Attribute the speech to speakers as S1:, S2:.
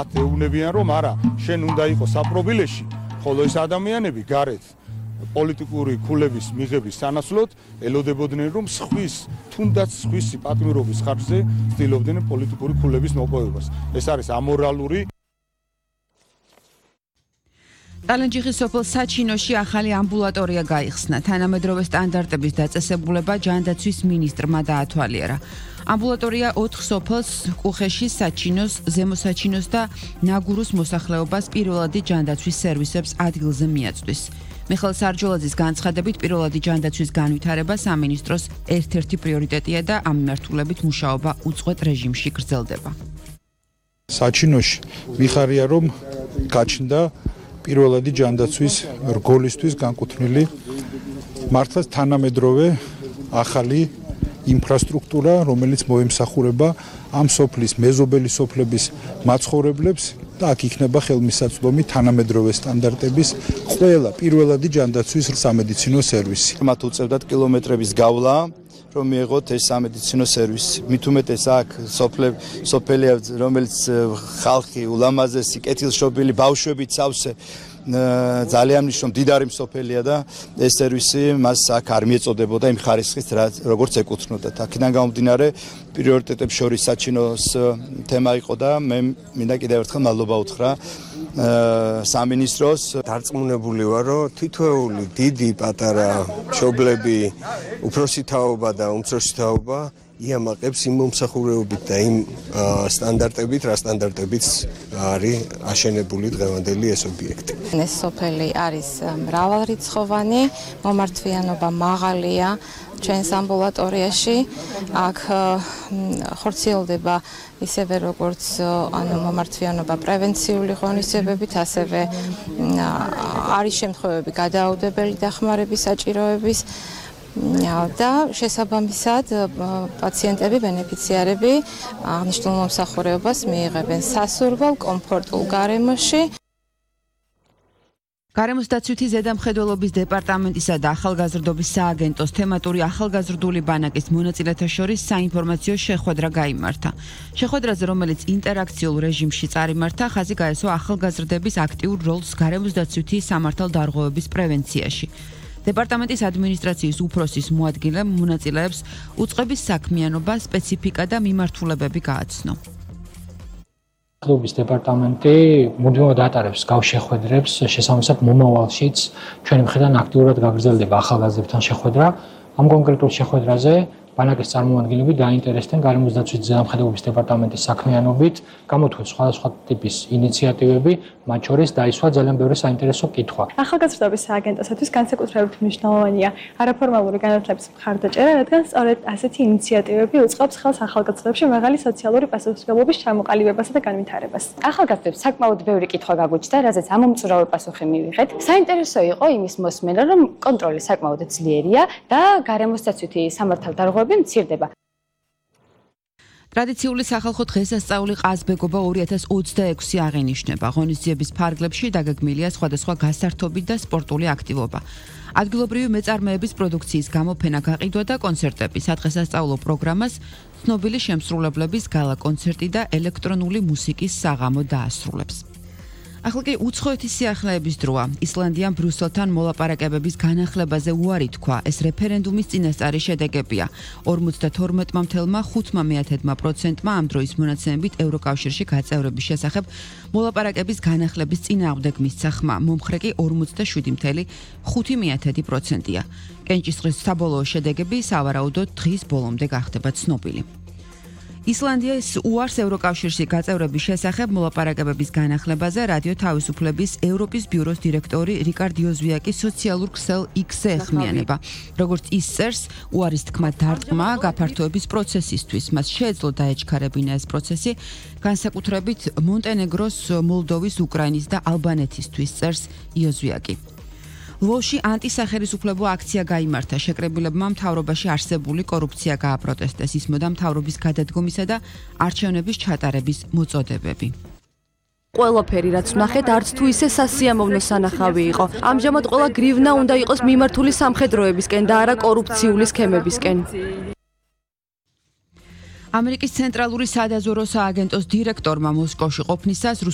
S1: ათეუნებიან რომ არა, შენ უნდა იყოს საპრობილეში, ხოლო ეს ადამიანები გარეთ პოლიტიკური ქულების მიღების სანაცვლოდ ელოდებოდნენ რომ თუნდაც სხვისი პატიმრობის ხარჯზე ცდილობდნენ პოლიტიკური ქულების მოპოვებას. ეს არის ამორალური.
S2: ტალენჯიხის სოფელ საჩინოში ახალი ამბულატორია გაიხსნა. თანამედროვე სტანდარტების დაწესებულება ჯანდაცვის მინისტრმა დაათვალიერა. ამბულატორია 4 სოფელს კუხეში, საჩინოს, ზემო საჩინოს და ნაგურუს მოსახლეობას პირველადი ჯანდაცვის სერვისებს ადგილზე მიაწვდის. მიხეილ სარჯოლაძის განცხადებით პირველადი ჯანდაცვის განვითარება სამინისტროს ერთ-ერთი პრიორიტეტია და ამ მიმართულებით მუშაობა უწყვეტ რეჟიმში გრძელდება.
S3: საჩინოში მიხარია რომ გაჩნდა პირველადი ჯანდაცვის რგოლისთვის განკუთვნილი მართლაც თანამედროვე ახალი ინფრასტრუქტურა, რომელიც მოემსახურება ამ სოფლის მეზობელი სოფლების მაცხოვრებლებს და აქ იქნება ხელმისაწვდომი თანამედროვე სტანდარტების ყველა პირველადი ჯანდაცვის სამედიცინო სერვისი.
S4: მათ უწევდათ კილომეტრების გავლა, რომ მიეღოთ ეს სამედიცინო სერვისი. მით უმეტეს აქ სოფელია, რომელიც ხალხი ულამაზესი, კეთილშობილი, ბავშვებით სავსე ძალიან მნიშვნელოვანი მდიდარი სოფელია და ეს სერვისი მას აქ არ მიეწოდებოდა იმ ხარისხის როგორც ეკუთვნოდა. აქედან გამომდინარე პრიორიტეტებს შორის საჩინოს თემა იყო და მე მინდა კიდევ ერთხელ მადლობა უთხრა სამინისტროს.
S5: დარწმუნებული ვარ, რომ თითოეული დიდი პატარა მშობლები, უფროსი თაობა და უმცროსი თაობა იამაყებს იმ მომსახურეობით და იმ სტანდარტებით, რა სტანდარტებით არის აშენებული დღევანდელი ეს ობიექტი.
S6: ეს სოფელი არის მრავალრიცხოვანი, მომართვიანობა მაღალია ჩვენს ამბულატორიაში. აქ ხორციელდება ისევე როგორც მომართვიანობა პრევენციული ღონისძიებებით, ასევე არის შემთხვევები გადაუდებელი დახმარების საჭიროების და შესაბამისად პაციენტები, ბენეფიციარები აღნიშნულ მომსახურებას მიიღებენ სასურველ, კომფორტულ გარემოში.
S2: გარემოს დაცვითი ზედამხედველობის დეპარტამენტისა და ახალგაზრდობის სააგენტოს თემატური ახალგაზრდული ბანაკის მონაწილეთა შორის საინფორმაციო შეხვედრა გაიმართა. შეხვედრაზე, რომელიც ინტერაქციულ რეჟიმში წარიმართა, ხაზი გაესვა ახალგაზრდების აქტიურ როლს გარემოს დაცვითი სამართალდარღვევების პრევენციაში. დეპარტამენტის ადმინისტრაციის უფროსის მოადგილემ მონაწილეებს უწყების საქმიანობა, სპეციფიკა და მიმართულებები გააცნო.
S7: ახალგაზრდობის დეპარტამენტი მუდმივად ატარებს გავშეხვედრებს, შესაბამისად მომავალშიც ჩვენი მხრიდან აქტიურად გაგრძელდება ახალგაზრდებთან შეხვედრა. ამ კონკრეტულ შეხვედრაზე ბანაკის წარმომადგენლები დაინტერესდნენ გარემოს დაცვის ზედამხედველობის დეპარტამენტის საქმიანობით, გამოთქვეს სხვადასხვა ტიპის ინიციატივები, მათ შორის დაისვა ძალიან ბევრი საინტერესო კითხვა.
S8: ახალგაზრდობის სააგენტოსათვის განსაკუთრებით მნიშვნელოვანია არაფორმალური განათლების მხარდაჭერა, რადგან სწორედ ასეთი ინიციატივები უწყობს ხელს ახალგაზრდებში მაღალი სოციალური პასუხისმგებლობის ჩამოყალიბებასა და განვითარებას.
S9: ახალგაზრდებს საკმაოდ ბევრი კითხვა გაგუჩნდა, რაზეც ამომწურავი პასუხი მივიღეთ. საინტერესო იყო იმის მოსმენა, რომ კონტროლი საკმაოდ ძლიერია და გარემოს დაცვითი სამართალდარღვევები მცირდება.
S2: ტრადიციული სახალხო დღესასწაული ყაზბეგობა 2026 აღინიშნება. ღონისძიების ფარგლებში დაგეგმილია სხვადასხვა გასართობი და სპორტული აქტივობა. ადგილობრივი მეწარმეების პროდუქციის გამოფენა გაყიდვა და კონცერტები, სადღესასწაულო პროგრამას ცნობილი შემსრულებლების გალა კონცერტი და ელექტრონული მუსიკის საღამო დაასრულებს. ახლა კი უცხოეთის სიახლეების დროა. ისლანდიამ ბრიუსელთან მოლაპარაკებების განახლებაზე უარი თქვა. ეს რეფერენდუმის წინასწარი შედეგებია. 52.5%-მა ამ დროის მონაცემებით ევროკავშირში გაწევრების შესახებ მოლაპარაკების განახლების წინააღმდეგ მისცა ხმა. მომხრე კი 47.5%-ია. კენჭისყრის საბოლოო შედეგები სავარაუდოდ დღის ბოლომდე გახდება ცნობილი. ისლანდიას უარს ევროკავშირში გაწევრების შესახებ მოლაპარაკებების განახლებაზე რადიო თავისუფლების ევროპის ბიუროს დირექტორი რიკარდ იოზვიაკი სოციალურ ქსელ X-ზე ეხმიანება. როგორც ის წერს, უარის თქმა დარტყმა გაფართოების პროცესისთვის. მას შეეძლო დაეჩქარებინა ეს პროცესი, განსაკუთრებით მონტენეგროს, მოლდოვის, უკრაინის და ალბანეთისთვის, წერს იოზვიაკი. ლვოვში ანტისახელისუფლებო აქცია გაიმართა. შეკრებილებმა მთავრობაში არსებული კორუფცია გააპროტესტეს. ისმოდა მთავრობის გადადგომისა და არჩევნების ჩატარების მოწოდებები.
S10: ყველაფერი რაც ვნახეთ არც თუ ისე სასიამოვნო სანახავი იყო. ამჟამად ყველა გრივნა უნდა იყოს მიმართული სამხედროებისკენ და არა კორუფციული სქემებისკენ.
S2: ამერიკის ცენტრალური სადაზვერო სააგენტოს დირექტორმა მოსკოვში ყოფნისას